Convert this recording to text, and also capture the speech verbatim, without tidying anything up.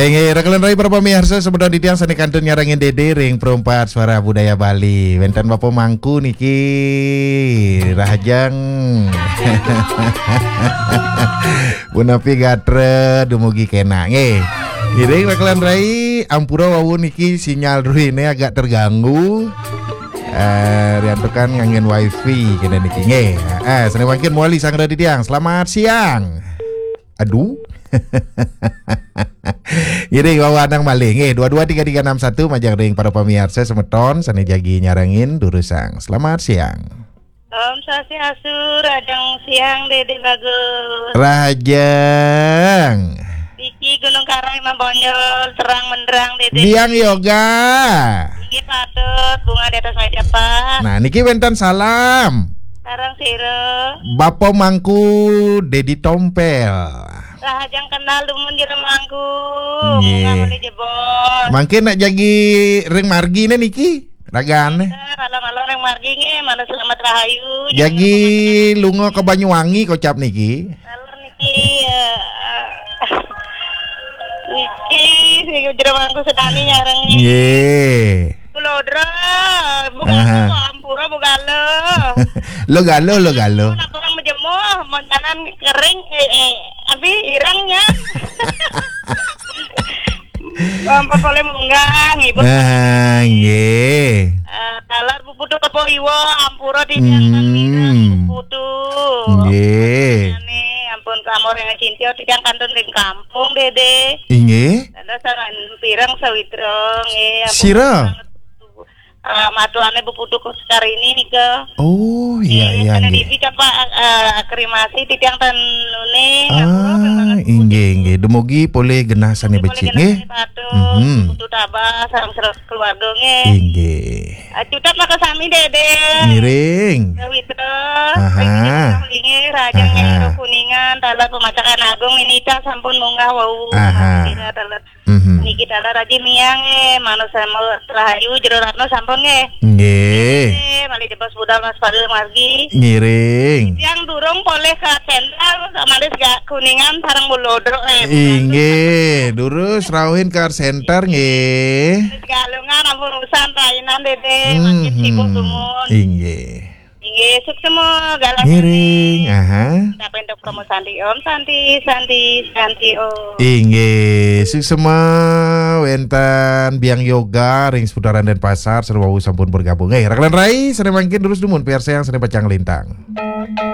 Inggih, rekan rai para pamiarsa, semeton titiang sane kantun nyarengin Dede ring Perempat Suara Budaya Bali. Wenten Bapa Mangku niki, rahajeng. Punapi gatra dumugi kena nggih. Ngiring rekan rai, ampura wau niki sinyal ruhine agak terganggu. Eh, riantukan nganggen wifi kene niki nggih. Eh, sane mangkin mawali sareng titiang. Selamat siang. Aduh. Ngiring wau anang malih nggih, dua dua tiga tiga enam satu majeng ring para pamiarsa semeton sane jagi nyarengin durusang. Selamat siang. Om Swastiastu, rahajeng siang Dede Bagus. Rahajeng. Niki Gunung Karang Imam Bonjol, terang menderang Dede. Biang Yoga. Inggih patut, bunga di atas meja, Pak. Nah, niki wenten salam. Sareng sira. Bapa Mangku Dedi Tompel. Rahajeng kenal dumun Jero Mangku. Nggih. Munggah malih jebos. Mangkin nak jagi ring margine niki, ragane. Eh, kalau-kalau ring margi nggih, malah selamat rahayu. Jagi lunga ke Banyuwangi kocap niki. Kalau niki, eh, niki, si Jero Mangku sedani nyareng niki. Nggih. Kulodra, Bu Aha. Galuh, ampura Bu Galuh. Lo Galuh, lo Galuh. Napa orang mejemuh, moncanan kering, eh, eh, abi irengnya. Ampun polih munggah, ngibur. Ah, nggih. Eh, taler Bu Putu Kepo Iwa, ampura titiang Hmm. Bu Putu. Nggih. Ane, ampun klamur yang cinta, titiang kantun ring kampung, Dede. Inggih. Dados sawan pireng sawitra, nggih, ampun Sira? Pireng, eh, matuane Bu Putu Sekar ini nika. Oh, iya, Nggih, iya, sané nggih. Dibi capa, eh, akrimasi titiang ten nune, ngapura, Ah, pun banget Bu inggih, Putu. Inggih. Dumugi polih genah sané Dumugi becik, polih genah nggih. Sané patuh, Mhm. Bu Putu tabah, sareng keluarga, nggih. Inggih. Ah, cutet maka sami, Dede. Ngiring. Sawitra. Aha. Nggih, Rajang Aha. Nyanyi Kuningan, taler pemacakan agung, minita sampun munggah wau. Aha. Kira taler Mhm. Niki taler Raji Miang, eh, manut sama rahayu Jero Ratno sampun nggih. Nggih. Eh, malih jebos budal Mas Fadil margi. Ngiring. Yang durung polih ke Center, malih gak Kuningan sareng Mulodro, eh, Inggih, durus rauhin ke Center nggih. Galungan ampun urusan rainan Dede, makin Mhm. Sibuk dumun. Inggih. Inggih, suksma galah. Ngiring, aha. Tapi untuk promo Santi Om, Santi, Santi, Santi Om. Inggih, suksma wenten Biang Yoga ring seputaran Denpasar, sareng wau sampun bergabung. Eh, rekan rai, sané mangkin durus dumun, piarsayang sané pacang lintang.